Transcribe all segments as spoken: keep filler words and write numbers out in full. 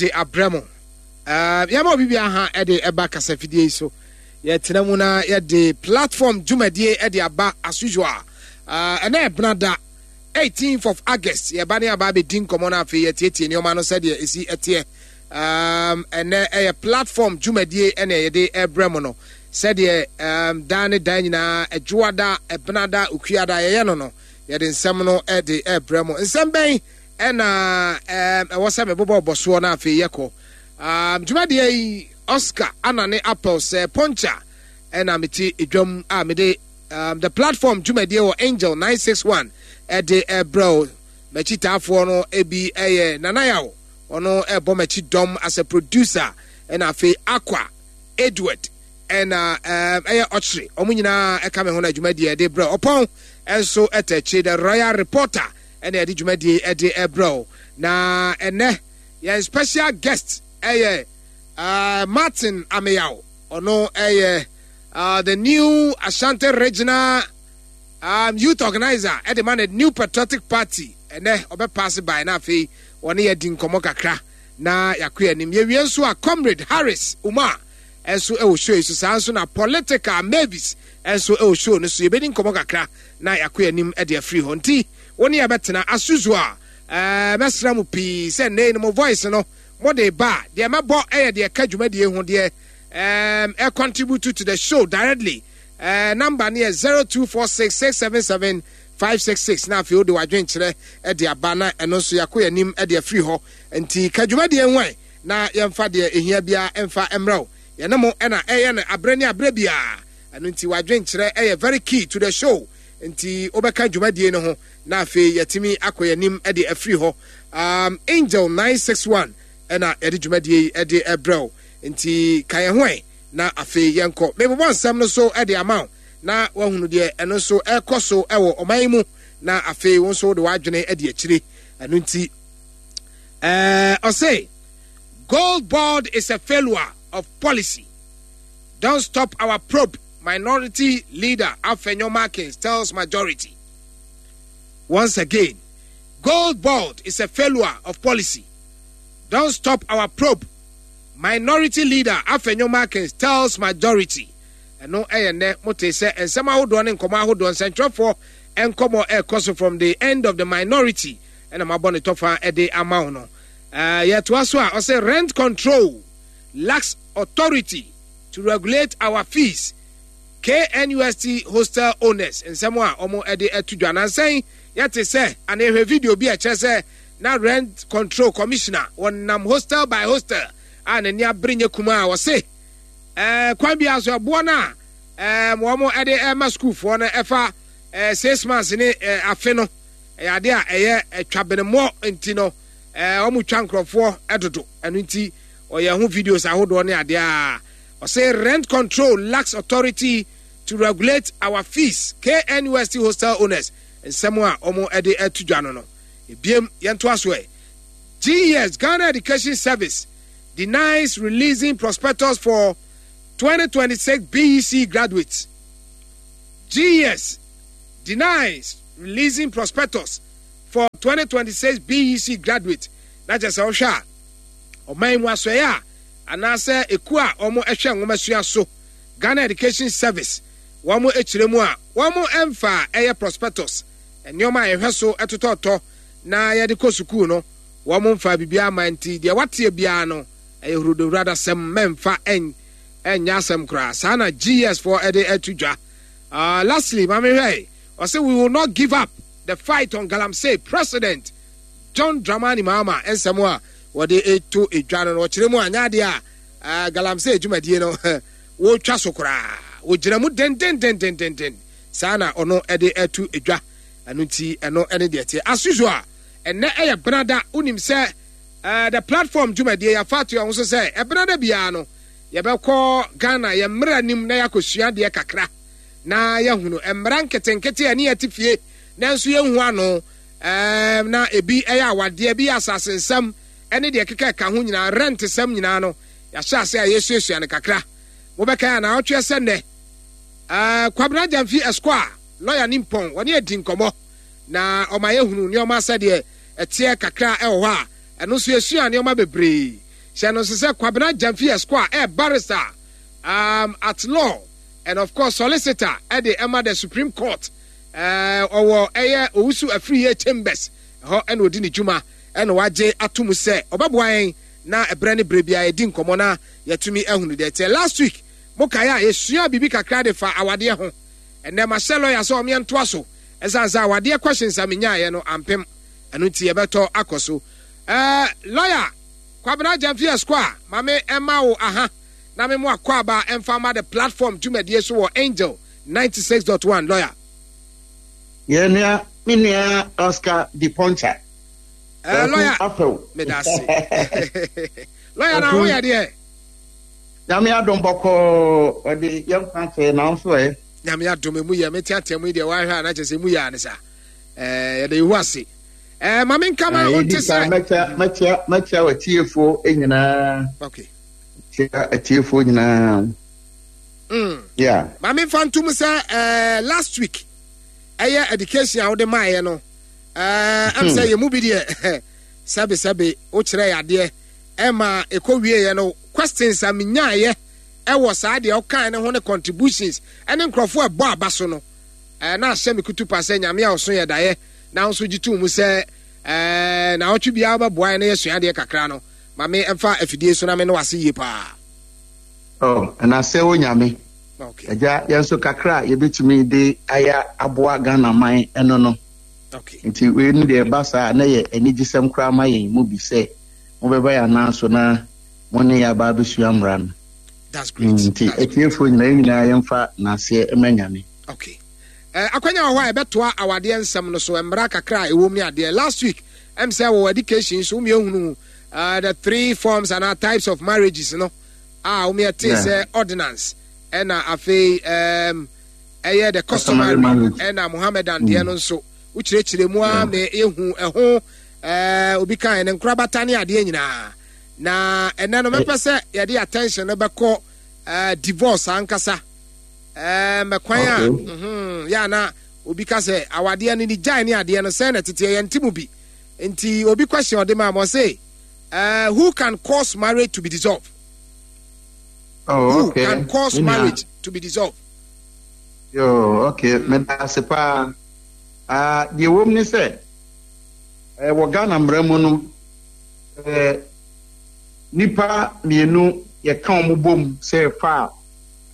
De abrɛ mo. Uh, yɛma obi biara ha ɛde ɛba kasafidie yi so. Yɛtena mu na yɛde platform dwumadie ɛde aba as usual. Uh, ɛnɛ ɛbena eighteenth of August, yɛba ne aba abɛdi nkɔmmɔ no, afei yɛtietie nneɛma no sɛdeɛ ɛsi ɛteɛ. um, ɛnɛ ɛyɛ platform dwumadie ɛna yɛde ɛbrɛ mo no sɛdeɛ um, daa ne daa nyinaa, adwoada, ɛbenada, okuada, yɛyɛ no no yɛde nsɛm no ɛde ɛbrɛ mo. Nsɛm bɛn ɛna um, ɛwɔ sɛ mebobɔ bɔ soɔ no afei yɛkɔ um, dwumadie yi? Oscar Anane Apple sɛ Poncha ɛna mete edwam a mede um, the platform dwumadie wɔ Angel nine six one ɛde ɛbrɛ o. M'akyitaafoɔ no ebi ɛyɛ Nanayaw, ɔno ɛbɔ m'akyi dɔm as a producer, ɛna afei Aqua Edward ɛna um, ɛyɛ ɔkyere. Ɔmo nyinaa ɛka me ho no dwumadie ɛde brɛ. Ɔpɔn ɛnso ɛtɛ akyi, the royal reporter, ɛna ɛde dwumadie ɛde ɛbrɛ o. Na ɛnɛ yɛn special guest ɛyɛ uh, Martin Ameyaw. Ɔno ɛyɛ uh, the new Ashanti Regional um, youth organizer ɛde ma no New Patriotic Party. Ɛnɛ ɔbɛpaase by na afei wɔne yɛ di nkɔmmɔ kakra na yɛakɔ anim. Yɛwie nso a, Comrade Harris Umar ɛnso ɛwɔ show yi so. Saa nso na Political Mavis ɛnso ɛwɔ show no so. Yɛbɛdi nkɔmmɔ kakra na yɛakɔ anim ɛde afiri hɔ. Nti wo ne yɛbɛtena asusu a ɛɛ mɛsrɛ mo pii sɛ nnɛ no mo voice no mode ba a, deɛ mɛbɔ ɛyɛ deɛ ɛka dwumadie ho, deɛ ɛɛm ɛ contribute to the show directly. ɛɛ number no yɛ zero two four six six seven seven five six six, na afei wode w'adwenkyerɛ ɛde aba na ɛno nso yɛakɔ anim ɛde afiri hɔ. Nti ka dwumadie ho ɛ na yɛmfa deɛ ɛhia biara ɛmfa mmerɛ wo. Yɛne mo ɛna ɛyɛ no aberɛ ne aberɛ biara. Ɛno nti w'adwenkyerɛ ɛyɛ very key to the show, nti wobɛka dwumadie no ho na afei yɛtumi akɔ yɛnim ɛde afiri hɔ. um, Angel nine six one ɛna yɛde dwumadie yi ɛde ɛbrɛ wo, nti ka yɛn ho ɛ na afei yɛnkɔ. Mebobɔ nsɛm no so ɛde ama wo na wahunu deɛ ɛno nso ɛkɔ so ɛwɔ ɔman yi mu, na afei wo nso wode w'adwene ɛde akyire. Ɛno nti ɛɛ ɔse Gold Board is a failure of policy. "Don't stop our probe," Minority Leader Afenyo Markins tells majority. Once again, "Gold Board is a failure of policy. Don't stop our probe," Minority Leader Afenyo Markins tells majority. Ɛno ɛyɛ nnɛ mote sɛ nsɛm ahodoɔ ne nkɔmmɔ ahodoɔ, nsɛntwerɛfoɔ nkɔmmɔ ɛrekɔ so from the end of the minority, ɛna mabɔ ne tɔfa ɛde ama wo no. ɛɛ yɛtoa so a, ɔsɛ "Rent control lacks authority to regulate our fees," K N U S T hostel owners. Nsɛm a wɔn ɛde ɛto dwa nansɛn, yɛte sɛ ana ehwɛ video bi a ɛkyerɛ sɛ na rent control commissioner wɔnam hostel by hostel a n'ani abere nye kuma a wɔse ɛɛ kwan bi aso ɛboɔ no a ɛɛ wɔn ɛde ɛma sukuufoɔ no ɛfa ɛɛ six months ne ɛɛ afe no ɛyɛ ade a ɛyɛ ɛtwa. Nti no ɛɛ wɔn twa nkurɔfoɔ ɛdodo. Ɛno nti ɔyɛ ho videos ahodoɔ ne adeɛ a ɔsɛ "Rent control lacks authority to regulate our fees," K N U S T hostel owners. Nsɛm a wɔn ɛde ɛto dwa no no ebiem. Yɛnto aso ɛ. G E S, Ghana Education Service, denies releasing prospectus for twenty twenty-six B E C graduates. G E S denies releasing prospectus for twenty twenty-six B E C graduates. Na kyerɛ sɛ wohwɛ a, ɔman mu asɔeɛ a anaasɛ ekuo a wɔn hwɛ nwomasua so, Ghana Education Service, wɔn akyerɛ mu a wɔn mfa ɛyɛ prospectus, nneɛma a yɛhwɛ so ɛtotɔtɔ na yɛde kɔ sukuu no, wɔn mfa biribiara ama. Nti deɛ wateɛ biara no ɛyɛ hurodowuradasɛm, mɛmfa ɛn ɛnyɛ asɛm koraa. Saa na G E S foɔ ɛde ɛto dwa. uh, lastly maame hwɛ, ɔsɛ "We will not give up the fight on galamsey," President John Dramani Mahama. Nsɛm a wɔde eto edwa no no ɔkyerɛ mu a nyɛ adeɛ a uh, galamsey dwumadie no wɔretwa so koraa, wɔgyina mu dendendendendenden. Saa na ɔno ɛde ɛto edwa. Ɛno nti ɛno ɛne deɛ teɛ. As usual, ɛnɛ ɛyɛ benada. Wonim sɛ uh, the platform dwumadie yɛafa ato yɛn ho so sɛ ɛbenada biara no yɛbɛkɔ Ghana yɛn mmerɛ nim na yɛakɔsua adeɛ kakra na yɛhunu mmara nketenkete a ne yɛte fie nanso yɛnhu ano. ɛɛm na ebi ɛyɛ awadeɛ, ebi yɛ asase nsɛm ɛne deɛ keka ɛka ho nyinaa, rent sɛm nyinaa no yɛahyɛ ase a yɛsuasua no kakra. Mobɛka yɛ anaawɔtwe sɛ nnɛ ɛɛ Kwabena Gyamfi Esquire, lawyer ne mpɔn, wɔne adi nkɔmmɔ na ɔma yɛhunu nneɛma sɛdeɛ ɛteɛ kakra ɛwɔ hɔ a ɛno nso yɛsua nneɛma bebree. Hyɛ no nso sɛ Kwabena Gyamfi Esquire ɛ barrister um, at law and of course solicitor ɛde ɛma the Supreme Court. Ɔwɔ ɛyɛ Owusu Afriyie Chambers ɛhɔ ɛna odi ne dwuma, ɛna wagye ato mu sɛ ɔbɛboa yɛn na ɛberɛ ne berɛ biara yɛdi nkɔmmɔ na yɛtumi ahunu deɛ ɛteɛ. Last week mokaeɛ a, yɛsua biribi kakra de fa awadeɛ ho. Ɛnɛ mahyɛ lawyer sɛ ɔmeɛ ntoa so, ɛsiane sɛ awadeɛ questions a menyaeɛ no ampem ɛno nti yɛbɛtɔ akɔ so. ɛɛ lawyer Kwabena Gyamfi Esquire, maame ɛma wo aha na me mo akɔ aba ɛmfa ma The Platform dwumadie so wɔ Angel ninety-six point one, lawyer. Yɛn nua, me nua Oscar Di Poncha. ɛɛ lawyer Apɛw. Meda ase, lawyer. Na ho yɛ deɛ? Nyame adom, bɔkɔɔ. Ɔde yɛn kwan kyɛ na nso ɛ. Nyame adom, emu yɛ. Mete atɛm yi deɛ, wahwɛ a na kyerɛ sɛ emu yɛ ane sa. ɛɛ yɛde ihu ase. ɛɛ maame nkama o nte sɛ. Mɛkyia mɛkyia mɛkyia w'atiefoɔ nyinaa. Okay. Kyia atiefoɔ nyinaa. Mm. Yeah. Maame nfa ntum sɛ ɛɛ last week ɛyɛ education a wode maayɛ no, ɛɛ ɛm sɛ yɛn mu bi deɛ, sɛbi sɛbi, wokyerɛ yɛ adeɛ ɛma ɛkɔ wie yɛ no, questions a menyaayɛ ɛwɔ saa deɛ ɔkan ne ho ne contributions ɛne nkurɔfoɔ ɛbɔ aba so no, ɛɛ na ahyɛ me kutu pa sɛ Nyame a ɔso yɛ daeɛ na nso gye tum mu sɛ ɛɛ na ɔtwe biara bɛboa yɛ na yɛsua adeɛ kakra no. Maame, ɛmfa afidie so na me ne wase yie paa. Oh, ɛna sɛ wo Nyame. Okay. Agya, yɛn nso kakra a yɛbɛtumi de ayɛ aboa Ghana man ɛno no. Okay. Nti wei no deɛ, ɛba saa na yɛ anigyesɛm koraa ma yɛn mu bi sɛ mobɛba yɛn anan so na mo ne yɛ aba abɛsua mmara no. That's great. Nti That's great. atiefoɔ nyinaa, yɛn nyinaa yɛmfa n'aseɛ ma Nyame. Okay. Uh, akwanya wɔ hɔ a yɛbɛtoa awadeɛ nsɛm no so, mmara kakra a ɛwɔ mu ne adeɛ. Last week ɛm sɛ wɔ education so womiɛhunu uh, the three forms and types of marriages no a womiɛtee Yeah. sɛ ordinance, ɛna afei um, ɛyɛ the customary Customary marriage. ɛna Mohammedan deɛ no nso wokyerɛkyerɛ mu a Yeah. me yɛhu ɛho uh, obi kan ne nkorabata ne adeɛ nyinaa. Na ɛnɛ no mɛpɛ sɛ yɛde attention no bɛkɔ uh, divorce ankasa, mɛkwan a Okay. mhm, yɛ ana obi ka sɛ awadeɛ no ne gyae ne adeɛ no sɛn na teteɛ yɛnte mu bi. Nti obi question ɔde ma ma ɔse, uh, who can cause marriage to be dissolved? Oh, Who okay. can cause Me nua. marriage to be dissolved? Yo, okay. Meda ase paa. Ah, deɛ ɛwɔ mu ne sɛ, eh, wɔ Ghana mmara mu no, eh, nipa mmienu yɛka wɔn bom sɛ ɛfa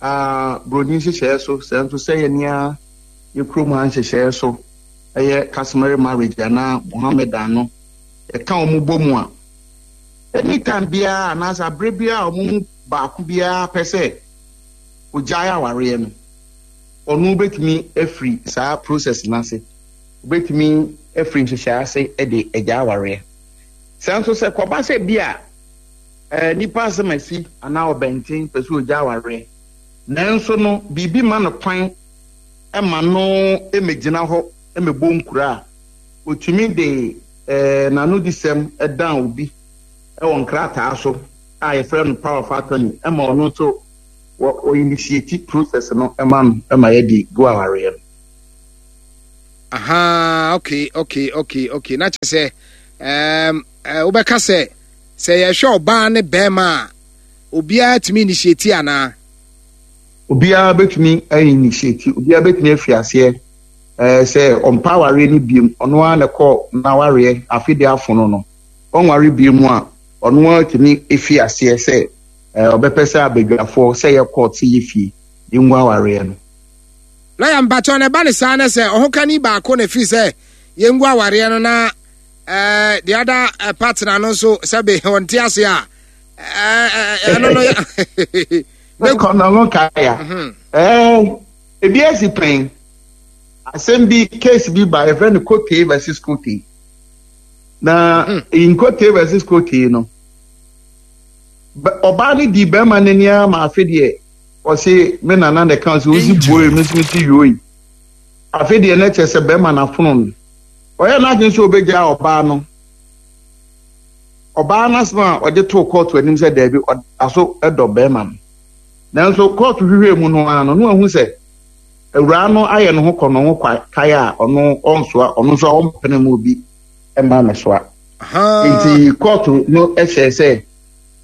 a buroni nhyehyɛeɛ so, sɛ nso sɛ yɛ nea yɛ kurom ha nhyehyɛeɛ so, ɛyɛ customary marriage anaa Mohammedan no, yɛka wɔn bɔ mu a, anytime biara anaasɛ abere biara a wɔn mu baako biara pɛ sɛ ogyae awareɛ no, ɔno bɛtumi afiri saa process n'ase, obɛtumi afiri nhyehyɛe ase de agya awareɛ. Sɛ nso sɛ kɔba sɛ bi a ɛɛ nipa asɛm asi anaa ɔbɛnten pɛ sɛ ogya awareɛ, nanso no biribi ma no kwan ma no mmɛgyina hɔ mmɛbɔ nkura a, otumi de ɛɛ n'anodisɛm dan obi ɛwɔ nkrataa so a yɛfrɛ no power of attorney, ɛma ɔno nso wɔ wɔ initiate process no ɛma no ɛma yɛde gu awareɛ no. Aha, okay okay okay okay Na kyerɛ sɛ um, uh, wobɛka sɛ sɛ yɛhwɛ ɔbaa ne bɛrima a, obiara tumi initiate anaa? Obiara bɛtumi initiate, obiara bɛtumi afi aseɛ ɛɛ sɛ ɔmpa awareɛ no biem, ɔno ara na ɛkɔ n'awareɛ afe de afono no, ɔnware biem a, ɔno ara tumi efi aseɛ sɛ ɛɛ ɔbɛpɛ sɛ abadwafoɔ, sɛ yɛ court, sɛ yɛ fie, yɛngu awareɛ no. Lawyer, mpakyɛw, na ɛba ne saa na sɛ ɔhokani baako na firi sɛ yɛngu awareɛ no na uh, the other uh, partner no nso sɛbe ɔnte ase a, ɛno no yɛ? Kɔnɔ no kaya ɛɛ ebi esi pɛn asɛm bi, case bi ba, yɛfrɛ no Kote versus Kote. Na Kote versus Kote no, ɔbaa no di bɛrima n'ani ama afe deɛ ɔse me nana na ɛka sɛ osi bue me nso me si yoi. Afe deɛ na kyerɛ sɛ bɛrima n'afono no, ɔyɛ n'adwene sɛ ɔbɛgya ɔbaa no. Ɔbaa n'asɛm a ɔde too kɔɔto anim sɛ daabi, ɔda so dɔ bɛrima no. Nanso kɔɔto hwehwɛ mu no ara no, na wahu sɛ awuraa no ayɛ ne ho kɔ ne ho kae a ɔno ɔnsoa, ɔno nso a ɔmpene mu obi mma no soa. Nti kɔɔto no hyɛ sɛ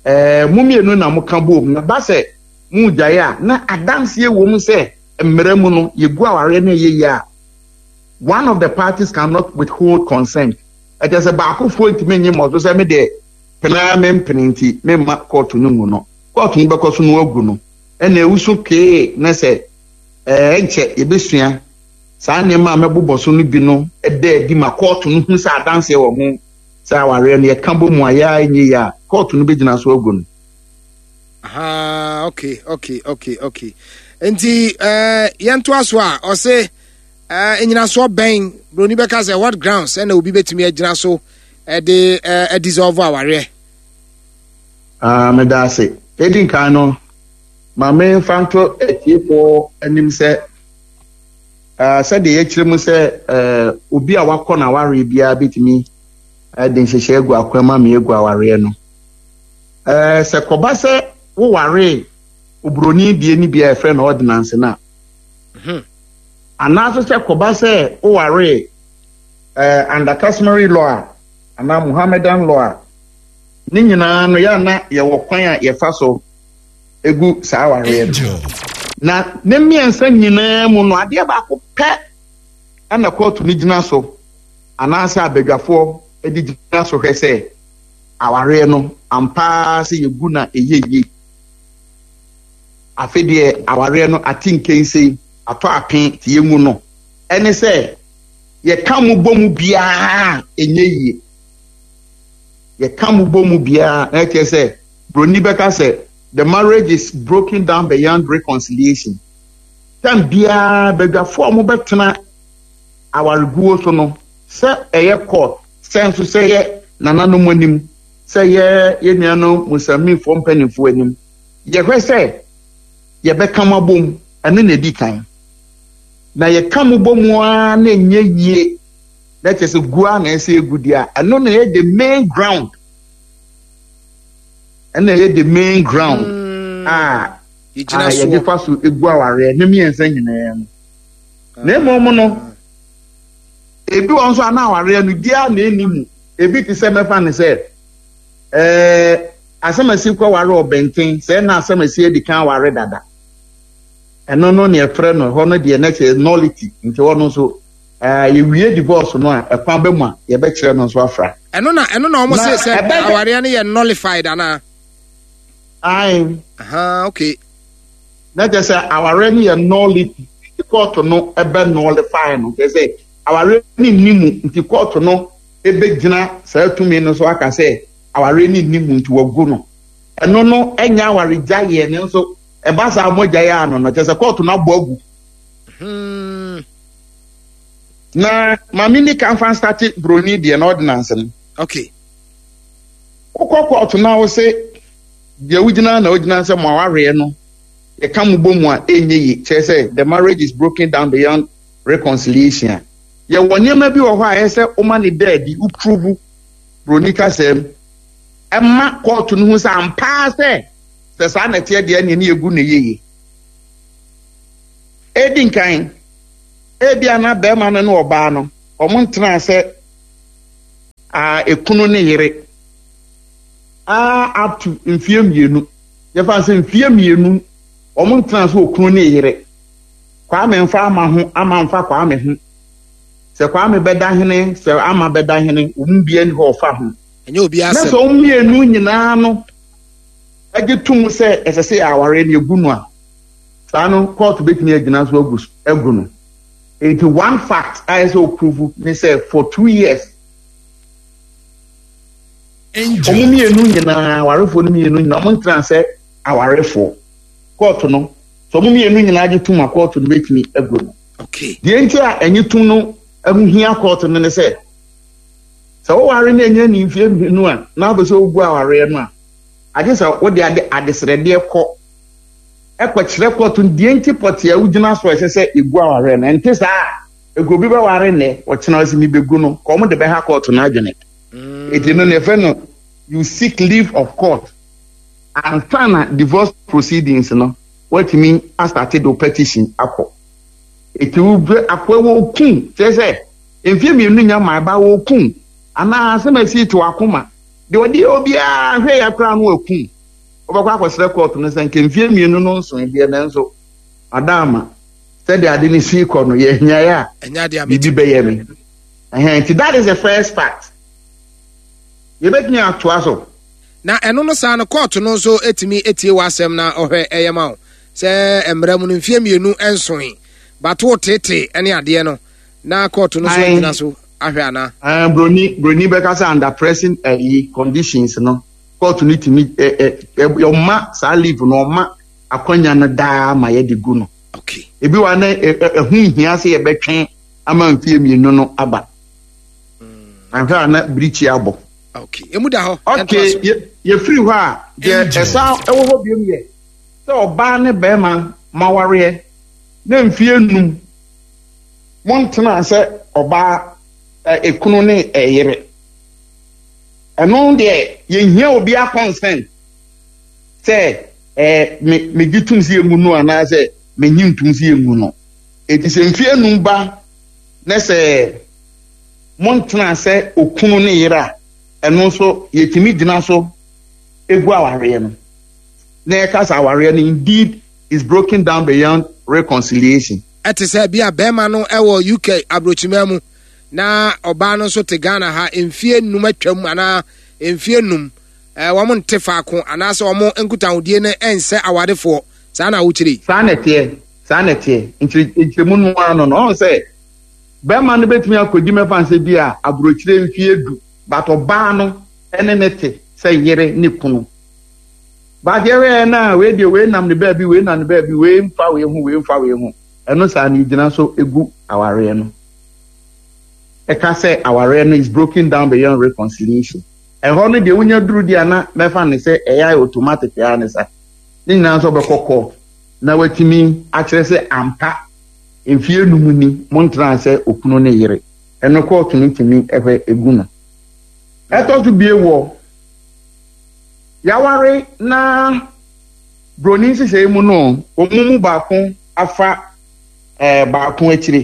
Ɛɛ mo mmienu na moka bom na ba sɛ mo gyae a, na adanseɛ wɔ mu sɛ mmerɛ mu no yɛgu awareɛ no ɛyɛ yie a, one of the parties cannot withhold consent. Ɛkyɛ sɛ baakofoɔ ntumi nye mmɔ so sɛ me deɛ penaa me mpene nti memma kɔɔto no ngu no. Kɔɔto no bɛkɔ so no agu no. Ɛna ewusu kee na sɛ ɛɛ nkyɛ yɛbɛsua saa nneɛma a mɛbobɔ so no bi no ɛda adi ma kɔɔto no hu sɛ adanseɛ wɔ ho sɛ awareɛ no yɛka bɔ mu a yɛa nyɛ yie a, kɔɔto no bɛgyina so agu no. Aha, okay okay okay okay Nti ɛɛ yɛntoa so a, ɔse ɛɛ nyinasoɔ bɛn, broni bɛka sɛ what grounds, ɛna obi bɛtumi agyina so ɛde ɛɛ dissolve awareɛ? Ah, meda ase. Edi nkan no, ma memfa nto atiefoɔ anim sɛ uh, sɛdeɛ yɛkyerɛ mu sɛ uh, obi a wakɔ n'awareɛ biara bɛtumi de nhyehyɛ agu akwan ma me agu awareɛ no. uh, sɛ kɔba sɛ wowaree oburoni die no bi a yɛfrɛ no ordinance no a, Mhm. anaasɛ sɛ kɔba sɛ wowaree uh, under customary law a anaa Muhammadan law a, ne nyinaa no yɛ na yɛwɔ kwan a yɛfa so egu saa awareɛ no. Na ne mmiɛnsa nyinaa mu no, adeɛ baako pɛ ɛna kɔɔto no gyina so anaasɛ abadwafoɔ de gyina so hwɛ sɛ awareɛ no ampaa sɛ yɛgu na ɛyɛ yie. Afe deɛ awareɛ no ate nkensɛn atɔ ape te yɛngu no, ɛne sɛ yɛka mu bɔ mu biara ɛnyɛ yie. Yɛka mu bɔ mu biara na ɛkyerɛ sɛ broni bɛka sɛ the marriage is broken down beyond reconciliation. Tam biara badwafoɔ a wɔbɛtena awareguo so no, sɛ ɛyɛ court, sɛ nso sɛ yɛ nananom anim, sɛ yɛ yɛ nuanom Muslimifoɔ mpanimfoɔ anim, yɛhwɛ sɛ yɛbɛka mo abom. Ɛno na ɛdi kan. Na yɛka mo bɔ mu ara na ɛnyɛ yie na kyerɛ sɛ gu a na ɛsɛ egu deɛ a, ɛno na ɛyɛ the main ground, ɛna ɛyɛ the main ground Mm, a yɛgyina a yɛde soɔ fa so egu awareɛ ne mmiɛnsa nyinaa mu. Na mmom no, ebi wɔ nso a na awareɛ no biara na ɛni mu. Ebi te sɛ mɛfa ne sɛ ɛɛ asɛmasi kɔ ware ɔbɛnten sɛ na asɛmasi adi kan ware dada. Ɛno no ne ɛfrɛ no ɛhɔ no deɛ na kyerɛ nullity. Nti hɔ no nso ɛɛ yɛwie divorce no a, ɛkwan bɛ mu a yɛbɛkyerɛ no nso afra. ɛno na ɛno na wɔn Na se sɛ ɛbɛyɛ- awareɛ no yɛ nullified anaa? Ae. Aha, okay. Na kyerɛ sɛ awareɛ no yɛ nullity nti kɔɔto no ɛbɛ nullify no, kyerɛ sɛ awareɛ no nni mu, nti kɔɔto no ɛbɛgyina saa tumi no so aka sɛ awareɛ no nni mu nti wagu no. Ɛno no ɛnyɛ awaregyaeɛ no nso ɛba saa mogyaeɛ ano no, kyerɛ sɛ kɔɔto no abɔ agu. Hmm. Na maame ni kan fa start broni deɛ na ordinance no. Okay wokɔ kɔɔto na wo se deɛ wogyina na wogyina sɛ mo awareɛ no yɛka mo bɔ mu a ɛnyɛ yie, kyerɛ sɛ the marriage is broken down beyond reconciliation a, yɛwɔ nneɛma bi wɔ hɔ a ɛyɛ sɛ woma ne da adi, wo prove broni kasɛm ɛma kɔɔto no hu sɛ ampaa sɛ sɛ saa na ɛteɛ deɛ neɛ ne yɛgu no yie. Ɛdi nkan, ebia na bɛrima no ne ɔbaa no ɔmo ntena sɛ a ekunu ne yere a up to mfie mmienu. Yɛfa sɛ mfie mmienu ɔmo ntena sɛ okunu ne yere. Kwame nfa Ama ho, Ama nfa Kwame ho, sɛ Kwame bɛda hene, sɛ Ama bɛda hene, wɔn bia ni hɔ ɔfa ho. Ɛnyɛ obi Na sɛ asɛm. wɔn mmienu nyinaa no agye tom sɛ ɛsɛ sɛ awareɛ no egu no a, saa no kɔɔto bɛtumi agyina so agu agu no. Eti one fact a ɛsɛ o prove ne sɛ for two years wɔn mmienu nyinaa, awarefoɔ no mmienu nyinaa, wɔn ntena sɛ awarefoɔ. Kɔɔto no, sɛ wɔn mmienu nyinaa gye tom a, kɔɔto no bɛtumi agu no. Okay deɛ nti a ɛnye tom no ɛho hia kɔɔto no ne sɛ sɛ woware no ɛnyɛ ne mfie mmienu a na wopɛ sɛ wogu awareɛ no a, agye sɛ wode ade adesrɛdeɛ kɔ ɛkɔkyerɛ kɔɔto no deɛ nti pɔte a wogyina so a ɛsɛ sɛ ɛgu awareɛ no. Ɛnte saa a, ɛgu obi bɛware nnɛ, ɔkyena ɔsɛ mebɛgu no, kɔ ɔmo de bɛha kɔɔto no adwene. Ɛti no ne yɛfrɛ no you seek leave of court ansa na divorce proceedings no woatumi a start de wo petition akɔ. Ɛti wobɛ akoa wɔ kum, kyerɛ sɛ mfie mmienu nya ma ɛba wɔ kum anaa asɛm asi te wakoma deɛ ɔde yɛ obiara hwɛ yɛ koraa no wakum. Wobɛkɔ akɔsrɛ court no sɛ nke mfie mmienu no nso deɛ, nanso adaama sɛdeɛ ade ne sii kɔ no, yɛnyaeɛ a ɛnyɛ adeɛ a biribi bɛyɛ me. Ɛhɛn, nti that is the first part. Yɛbɛtumi atoa so. Na ɛno no saa no, court no nso etumi etie w'asɛm na ɔhwɛ ɛyɛ ma wo sɛ mmerɛ mu no mfie mmienu nsoe bato tete ne adeɛ no, na court no nso Aye. gyina so ahwɛ anaa? Uh, broni broni bɛka sɛ under pressing ɛyi conditions no, court no tumi ɛ ɛ ɛ ɔma saa leave no, ɔma akwanya no daa ma yɛde gu no. Okay ebi wa na ɛ ɛ ɛho nhia sɛ yɛbɛtwɛn ama mfie mmienu no aba, ahwɛ a na birikyi abɔ. Okay, emu da hɔ. Yɛntoa Okay. so. yɛ yɛfiri hɔ a, deɛ ɛsan ɛwɔ hɔ biom yɛ sɛ ɔbaa ne bɛrima mawareɛ na mfie num montena sɛ ɔbaa ɛ ekunu ne ɛyere, ɛno deɛ yɛnhia obi consent sɛ ɛɛ me megye tum sɛ yɛngu no anaasɛ menyi ntum sɛ yɛngu no. Eti sɛ mfie num ba ne sɛ montena sɛ okunu ne yere a, ɛno nso yɛtumi gyina so egu awareɛ no na yɛka sɛ awareɛ no indeed is broken down beyond reconciliation. Ɛte sɛ bi a bɛrima no ɛwɔ U K aburokyima mu na ɔbaa no nso te Ghana ha, mfie num atwam anaa mfie num ɛɛ wɔn nte faako anaasɛ wɔn nkutahodie no ɛnsɛ awadefoɔ, saa na awokyerɛ yi? Saa na ɛteɛ, saa na ɛteɛ. Nkyerɛ nkyerɛmu no ara no no ɔn sɛ bɛrima no bɛtumi akɔdi mɛfa nsɛ bi a aburokyire mfie du, but ɔbaa no ɛne ne te sɛ yere ne kunu. But yɛhwɛ na wei deɛ, wei nam ne baabi, wei nam ne baabi, wei mfa wei ho, wei mfa wei ho, ɛno saa no gyina so egu awareɛ no. Ɛka sɛ awareɛ no is broken down beyond reconciliation. Ɛhɔ no deɛ, wonya duru deɛ na mɛfa ne sɛ ɛyɛ ayɛ automatic ɛyɛ ne sa ne nyinaa nso ɔbɛkɔ court na watumi akyerɛ sɛ ampa mfie num ni montena sɛ okunu ne yere. Ɛno court no tumi ɛhwɛ egu no. Ɛtɔ so bie, wɔ yaware na broni nhyehyɛe mu no, wɔn mu baako afa ɛɛ baako akyire.